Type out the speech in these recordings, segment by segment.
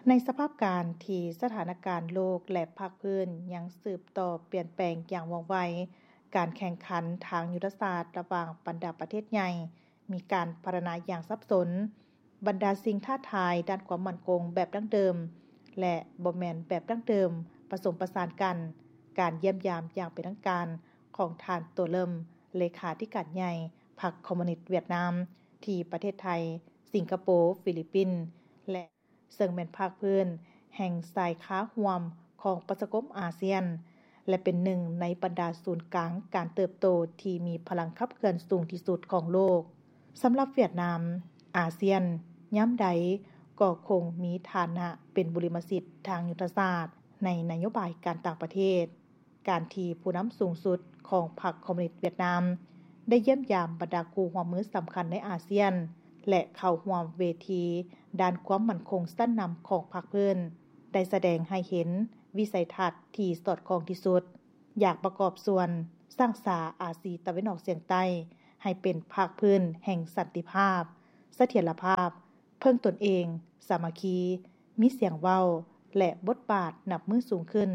ໃນສະພາບການທີ່ສະຖານະການໂລກ ແລະ ພາກພື້ນຍັງສືບຕໍ່ປ່ຽນແປງຢ່າງວ່ອງໄວ, ການແຂ່ງຂັນທາງຍຸດທະສາດລະຫວ່າງບັນດາປະເທດໃຫຍ່ມີການພັດທະນາຢ່າງສັບສົນ. ບັນດາສິ່ງທ້າທາຍດ້ານຄວາມໝັ້ນຄົງແບບດັ້ງເດີມ ແລະ ບໍ່ແມ່ນແບບດັ້ງເດີມ ປະສົມປະສານກັນ. ການຢ້ຽມຢາມຢ່າງເປັນທາງການຂອງທ່ານ ໂຕເລິມ ເລຂາທິການໃຫຍ່ພັກຄອມມູນິດຫວຽດນາມ ທີ່ປະເທດໄທ, ສິງກະໂປ, ຟີລິບປິນ ແລະ ເຊິ່ງແມ່ນພາກພື້ນແຫ່ງສາຍຄາຮ່ວມຂອງປະຊາຄົມອາຊຽນ ແລະ ເປັນໜຶ່ງໃນບັນດາສູນກາງການເຕີບໂຕທີ່ມີພະລັງຂັບເຄື່ອນສູງທີ່ສຸດຂອງໂລກ. ສຳລັບຫວຽດນາມ, ອາຊຽນຍາມໃດກໍຄົງມີຖານະເປັນບຸລິມະສິດທາງຍຸດທະສາດໃນນະໂຍບາຍການຕ່າງປະເທດ. ການທີ່ຜູ້ນຳສູງສຸດຂອງພັກຄອມມູນິດຫວຽດນາມ ໄດ້ຢ້ຽມຢາມບັນດາຄູ່ຮ່ວມມືສຳຄັນໃນອາຊຽນ ແລະ ເຂົ້າຮ່ວມເວທີດ້ານຄວາມໝັ້ນຄົງຊັ້ນນຳຂອງພາກພື້ນ ໄດ້ສະແດງໃຫ້ເຫັນວິໄສທັດທີ່ສອດຄ່ອງທີ່ສຸດ, ຢາກປະກອບສ່ວນສ້າງສາອາຊີຕາເວັນອອກສຽງໃຕ້ໃຫ້ເປັນພາກພື້ນແຫ່ງສັນຕິພາບ, ສະຖຽນລະພາບ, ເພິ່ງຕົນເອງ, ສາມັກຄີ, ມີສຽງເວົ້າ ແລະ ບົດບາດນັບມື້ສູງຂຶ້ນ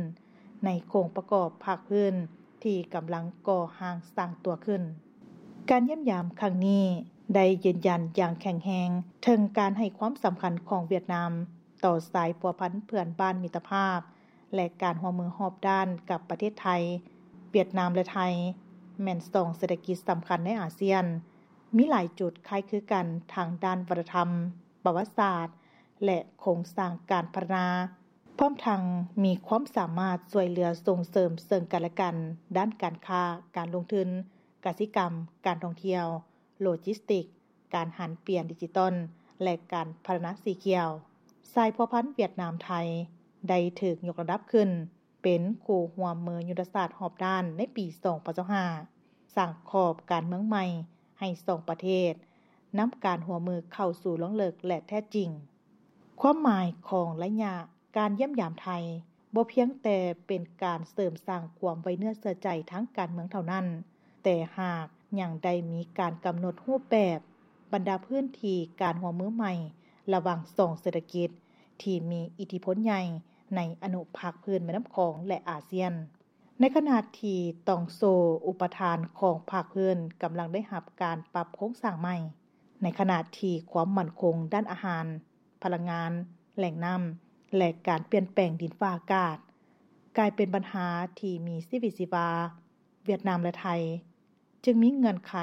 ໃນໂຄງປະກອບພາກພື້ນທີ່ກຳລັງກໍ່ຮ່າງສ້າງຕົວຂຶ້ນ. ການຢ້ຽມຢາມຄັ້ງນີ້ໄດ້ຢືນຢັນຢ່າງແຂງແຮງເຖິງການໃຫ້ຄວາມສຳຄັນຂອງຫວຽດນາມຕໍ່ສາຍພົວພັນເພື່ອນບ້ານມິດຕະພາບ ແລະ ການຮ່ວມມືຮອບດ້ານກັບປະເທດໄທ. ຫວຽດນາມ ແລະ ໄທ ແມ່ນສອງເສດຖະກິດສຳຄັນໃນອາຊຽນ, ມີຫຼາຍຈຸດຄ້າຍຄືກັນທາງດ້ານວັດທະນະທຳ, ປະຫວັດສາດ ແລະ ໂຄງສ້າງການພັດທະນາ, ພ້ອມທັງມີຄວາມສາມາດຊ່ວຍເຫຼືອສົ່ງເສີມເຊິ່ງກັນ ແລະ ກັນ ດ້ານການຄ້າ, ການລົງທຶນ, ກະສິກຳ, ການທ່ອງທ່ຽວ, ໂລຈິສຕິກ, ການຫັນປ່ຽນດິຈິຕອນ ແລະ ການພັດທະນາສີຂຽວ. ສາຍພົວພັນຫວຽດນາມ-ໄທ ໄດ້ຖືກຍົກລະດັບຂຶ້ນເປັນຄູ່ຮ່ວມມືຍຸດທະສາດຮອບດ້ານໃນປີສອງພັນຊາວຫ້າ, ສ້າງຂອບການເມືອງໃໝ່ໃຫ້ສອງປະເທດ, ນຳການຮ່ວມມືເຂົ້າສູ່ລວງເລິກ ແລະ ແທ້ຈິງ. ຄວາມໝາຍຂອງໄລຍະການຢ້ຽມຢາມໄທ ບໍ່ພຽງແຕ່ເປັນການເສີມສ້າງຄວາມໄວ້ເນື້ອເຊື່ອໃຈທາງການເມືອງເທົ່ານັ້ນ, ແຕ່ຫາກຍັງໄດ້ມີການກຳນົດຮູບແບບບັນດາພື້ນທີ່ການຮ່ວມມືໃໝ່ລະຫວ່າງສອງເສດຖະກິດທີ່ມີອິດທິພົນໃຫຍ່ໃນອະນຸພາກພື້ນແມ່ນ້ຳຂອງ ແລະ ອາຊຽນ. ໃນຂະນະທີ່ຕ່ອງໂສ້ອຸປະທານຂອງພາກພື້ນກຳລັງໄດ້ຮັບການປັບໂຄງສ້າງໃໝ່, ໃນຂະນະທີ່ຄວາມໝັ້ນຄົງດ້ານອາຫານ, ພະລັງງານ, ແຫຼ່ງນ້ຳ ແລະ ການປ່ຽນແປງດິນຟ້າອາກາດ ກາຍເປັນບັນຫາທີ່ມີຊີວິດຊີວາ, ຫວຽດນາມ ແລະ ໄທ ຈຶ່ງມີເງື່ອນໄຂ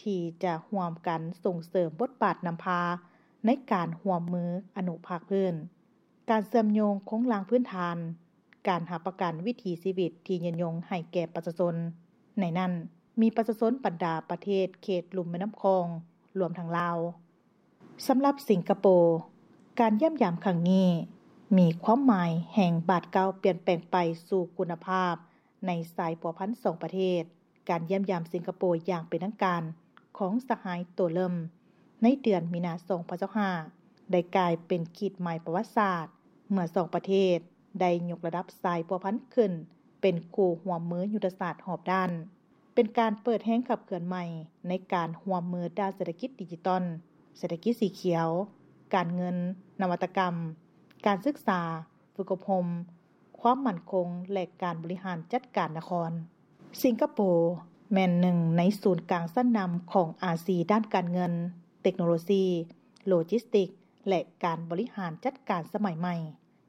ທີ່ຈະຮ່ວມກັນສົ່ງເສີມບົດບາດນຳພາໃນການຮ່ວມມືອະນຸພາກພື້ນ. ການເຊື່ອມໂຍງໂຄງລ່າງພື້ນຖານ, ການຮັບປະກັນວິຖີຊີວິດທີ່ຍືນຍົງໃຫ້ແກ່ປະຊາຊົນ, ໃນນັ້ນມີປະຊາຊົນບັນດາປະເທດເຂດລຸ່ມແມ່ນ້ຳຂອງ, ລວມທັງລາວ. ສຳລັບສິງກະໂປ, ການຢ້ຽມຢາມຄັ້ງນີ້ມີຄວາມໝາຍແຫ່ງບາດກ້າວປ່ຽນແປງໄປສູ່ຄຸນນະພາບໃນສາຍພົວພັນສອງປະເທດ. ການຢ້ຽມຢາມສິງກະໂປຢ່າງເປັນທາງການຂອງສະຫາຍ ໂຕເລິມ ໃນເດືອນມີນາ ສອງພັນຊາວຫ້າ ໄດ້ກາຍເປັນຂີດໝາຍປະຫວັດສາດ ເມື່ອສອງປະເທດໄດ້ຍົກລະດັບສາຍພົວພັນຂຶ້ນເປັນຄູ່ຮ່ວມມືຍຸດທະສາດຮອບດ້ານ, ເປັນການເປີດແຮງຂັບເຄື່ອນໃໝ່ໃນການຮ່ວມມືດ້ານເສດຖະກິດດິຈິຕອນ, ເສດຖະກິດສີຂຽວ, ການເງິນ, ນະວັດຕະກຳ, ການສຶກສາ, ຝຶກອົບຮົມ, ຄວາມໝັ້ນຄົງ ແລະ ການບໍລິຫານຈັດການນະຄອນ. ສິງກະໂປແມ່ນໜຶ່ງໃນສູນກາງຊັ້ນນຳຂອງອາຊີດ້ານການເງິນ, ເຕັກໂນໂລຊີ, ໂລຈິສຕິກ ແລະ ການບໍລິຫານຈັດການສະໄໝໃໝ່,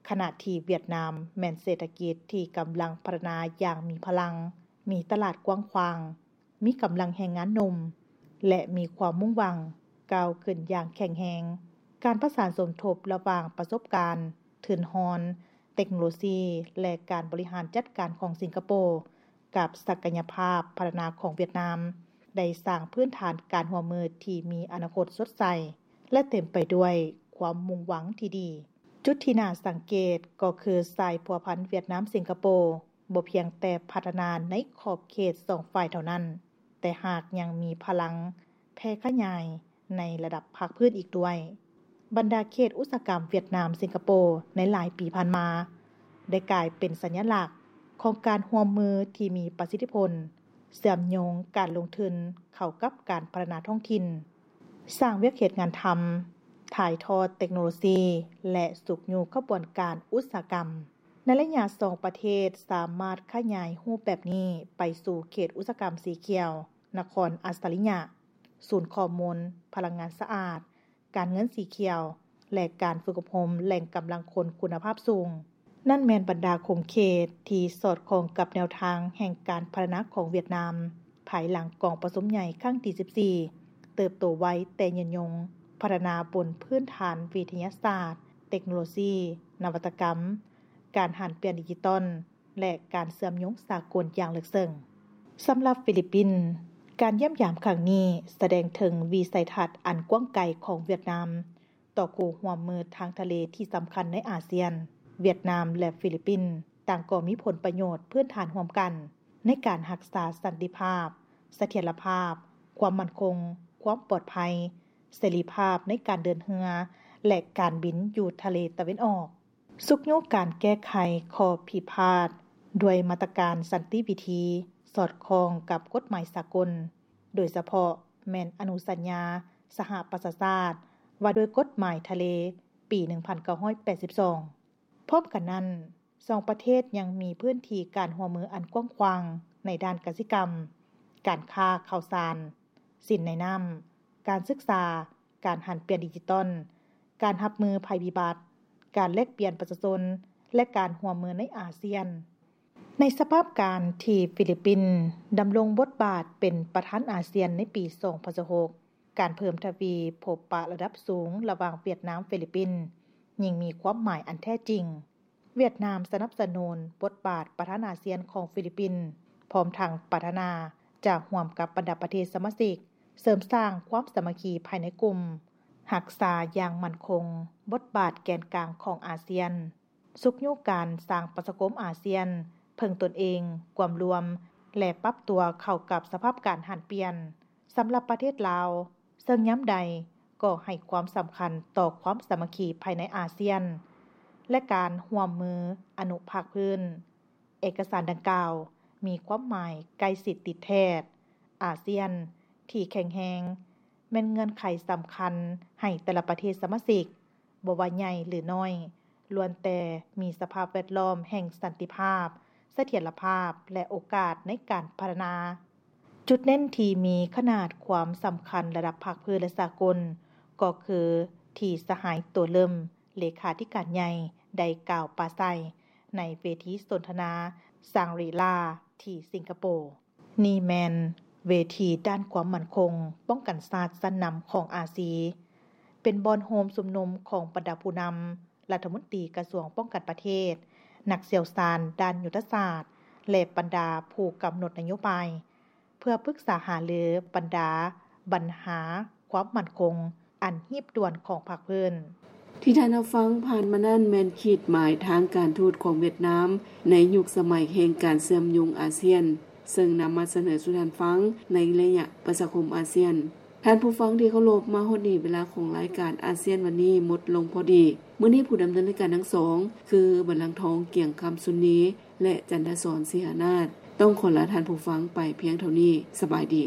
ຂະນະທີ່ຫວຽດນາມແມ່ນເສດຖະກິດທີ່ກຳລັງພັດທະນາຢ່າງມີພະລັງ, ມີຕະຫຼາດກວ້າງຂວາງ, ມີກຳລັງແຮງງານໜຸ່ມ ແລະ ມີຄວາມມຸ່ງຫວັງກ້າວຂຶ້ນຢ່າງແຂງແຮງ. ການປະສານສົມທົບລະຫວ່າງປະສົບການ, ທຶນຮອນ, ເຕັກໂນໂລຊີ ແລະ ການບໍລິຫານຈັດການຂອງສິງກະໂປ ກັບສັກກະຍະພາບພັດທະນາຂອງຫວຽດນາມ ໄດ້ສ້າງພື້ນຖານການຮ່ວມມືທີ່ມີອະນາຄົດສົດໃສ ແລະ ເຕັມໄປດ້ວຍຄວາມມຸ່ງຫວັງທີ່ດີ. ຈຸດທີ່ໜ້າສັງເກດກໍຄືສາຍພົວພັນຫວຽດນາມ-ສິງກະໂປ ບໍ່ພຽງແຕ່ພັດທະນາໃນຂອບເຂດສອງຝ່າຍເທົ່ານັ້ນ, ແຕ່ຫາກຍັງມີພະລັງແຜ່ຂະຫຍາຍໃນລະດັບພາກພື້ນອີກດ້ວຍ. ບັນດາເຂດອຸດສາຫະກຳຫວຽດນາມ-ສິງກະໂປໃນຫຼາຍປີຜ່ານມາ ໄດ້ກາຍເປັນສັນຍະລັກຂອງການຮ່ວມມືທີ່ມີປະສິດທິຜົນ, ເຊື່ອມໂຍງການລົງທຶນເຂົ້າກັບການພັດທະນາທ້ອງຖິ່ນ, ສ້າງວຽກເຮັດງານທຳ, ຖ່າຍທອດເຕັກໂນໂລຊີ ແລະ ຊຸກຍູ້ຂະບວນການອຸດສາຫະກຳ. ໃນໄລຍະສອງປະເທດສາມາດຂະຫຍາຍຮູບແບບນີ້ໄປສູ່ເຂດອຸດສາຫະກຳສີຂຽວ, ນະຄອນອັດສະລິຍະ, ສູນຂໍ້ມູນພະລັງງານສະອາດ, ການເງິນສີຂຽວ ແລະ ການຝຶກອົບຮົມແຫຼ່ງກຳລັງຄົນຄຸນນະພາບສູງ. ນັ້ນແມ່ນບັນດາຂົງເຂດທີ່ສອດຄ່ອງກັບແນວທາງແຫ່ງການພັດທະນາຂອງຫວຽດນາມ ພາຍຫຼັງກອງປະຊຸມໃຫຍ່ຄັ້ງທີສິບສີ່ ເຕີບໂຕໄວແຕ່ຍືນຍົງ, ພັດທະນາບົນພື້ນຖານວິທະຍາສາດ, ເຕັກໂນໂລຊີ, ນະວັດຕະກຳ, ການຫັນປ່ຽນດິຈິຕອນ ແລະ ການເຊື່ອມໂຍງສາກົນຢ່າງເລິກເຊິ່ງ. ສຳລັບຟີລິບປິນ, ການຢ້ຽມຢາມຄັ້ງນີ້ສະແດງເຖິງວິໄສທັດອັນກວ້າງໄກຂອງຫວຽດນາມ ຕໍ່ຄູ່ຮ່ວມມືທາງທະເລທີ່ສຳຄັນໃນອາຊຽນ. ຫວຽດນາມ ແລະ ຟີລິບປິນ ຕ່າງກໍມີຜົນປະໂຫຍດພື້ນຖານຮ່ວມກັນ ໃນການຮັກສາສັນຕິພາບ, ສະຖຽນລະພາບ, ຄວາມໝັ້ນຄົງ, ຄວາມປອດໄພ, ເສລີພາບໃນການເດີນເຮືອ ແລະ ການບິນຢູ່ທະເລຕາເວັນອອກ. ຊຸກຍູ້ການແກ້ໄຂຂໍ້ພິພາດດ້ວຍມາດຕະການສັນຕິວິທີ ສອດຄ່ອງກັບກົດໝາຍສາກົນ, ໂດຍສະເພາະແມ່ນອະນຸສັນຍາສະຫະປະຊາຊາດວ່າດ້ວຍກົດໝາຍທະເລປີໜຶ່ງພັນເກົ້າຮ້ອຍແປດສິບສອງ. ພ້ອມກັນນັ້ນ, ສອງປະເທດຍັງມີພື້ນທີ່ການຮ່ວມມືອັນກວ້າງຂວາງໃນດ້ານກະສິກຳ, ການຄ້າ, ຂ່າວສານ, ສິນໃນນ້ຳ, ການສຶກສາ, ການຫັນປ່ຽນດິຈິຕອນ, ການຮັບມືໄພພິບັດ, ການແລກປ່ຽນປະຊາຊົນ ແລະ ການຮ່ວມມືໃນອາຊຽນ. ໃນສະພາບການທີ່ຟີລິບປິນດຳລົງບົດບາດເປັນປະທານອາຊຽນໃນປີສອງພັນຊາວຫົກ, ການເພີ່ມທະວີພົບປະລະດັບສູງລະຫວ່າງຫວຽດນາມ-ຟີລິບປິນ ຍິ່ງມີຄວາມໝາຍອັນແທ້ຈິງ. ຫວຽດນາມສະໜັບສະໜູນບົດບາດປະທານອາຊຽນຂອງຟີລິບປິນ, ພ້ອມທັງປາດຖະໜາຈະຮ່ວມກັບບັນດາປະເທດສະມາຊິກ ເສີມສ້າງຄວາມສາມັກຄີພາຍໃນກຸ່ມ, ຮັກສາຢ່າງໝັ້ນຄົງບົດບາດແກນກາງຂອງອາຊຽນ, ຊຸກຍູ້ການສ້າງປະຊາຄົມອາຊຽນເພິ່ງຕົນເອງ, ກວມລວມ ແລະ ປັບຕົວເຂົ້າກັບສະພາບການຫັນປ່ຽນ. ສຳລັບປະເທດລາວ, ເຊິ່ງຍາມໃດກໍໃຫ້ຄວາມສຳຄັນຕໍ່ຄວາມສາມັກຄີພາຍໃນອາຊຽນ ແລະ ການຮ່ວມມືອະນຸພາກພື້ນ. ເອກະສານດັ່ງກ່າວມີຄວາມໝາຍໃກ້ຊິດຕິດແທດ. ອາຊຽນທີ່ແຂງແຮງແມ່ນເງື່ອນໄຂສຳຄັນໃຫ້ແຕ່ລະປະເທດສະມາຊິກ, ບໍ່ວ່າໃຫຍ່ ຫຼື ນ້ອຍ, ລ້ວນແຕ່ມີສະພາບແວດລ້ອມແຫ່ງສັນຕິພາບ, ສະຖຽນລະພາບ ແລະ ໂອກາດໃນການພັດທະນາ. ຈຸດເນັ້ນທີ່ມີຂະໜາດຄວາມສຳຄັນລະດັບພາກພື້ນ ແລະ ສາກົນ ກໍຄືທີ່ສະຫາຍ ໂຕເລິມ ເລຂາທິການໃຫຍ່ ໄດ້ກ່າວປາໄສໃນເວທີສົນທະນາ Shangri-La ທີ່ສິງກະໂປ. ນີ້ແມ່ນເວທີດ້ານຄວາມໝັ້ນຄົງປ້ອງກັນຊາດຊັ້ນນຳຂອງອາຊີ, ເປັນບ່ອນໂຮມຊຸມນຸມຂອງບັນດາຜູ້ນຳ, ລັດຖະມົນຕີກະຊວງປ້ອງກັນປະເທດ, ນັກຊ່ຽວຊານດ້ານຍຸດທະສາດ ແລະ ບັນດາຜູ້ກຳນົດນະໂຍບາຍ ເພື່ອປຶກສາຫາລືບັນດາບັນຫາຄວາມໝັ້ນຄົງອັນຮີບດ່ວນຂອງພາກພື້ນ. ທີ່ທ່ານຮັບຟັງຜ່ານມານັ້ນແມ່ນຂີດໝາຍທາງການທູດຂອງຫວຽດນາມໃນຍຸກສະໄໝແຫ່ງການເຊື່ອມໂຍງອາຊຽນ, ເຊິ່ງນຳມາສະເໜີສູ່ທ່ານຟັງໃນໄລຍະປະຊາຄົມອາຊຽນ. ທ່ານຜູ້ຟັງທີ່ເຄົາລົບ, ມາຮອດນີ້ເວລາຂອງລາຍການອາຊຽນວັນນີ້ໝົດລົງພໍດີ. ມື້ນີ້ຜູ້ດຳເນີນລາຍການທັງສອງ ຄື ບັນລັງທອງ ກຽງຄຳຊຸນນີ ແລະ ຈັນທະສອນ ສີຫານາດ ຕ້ອງຂໍລາທ່ານຜູ້ຟັງໄປພຽງເທົ່ານີ້. ສະບາຍດີ.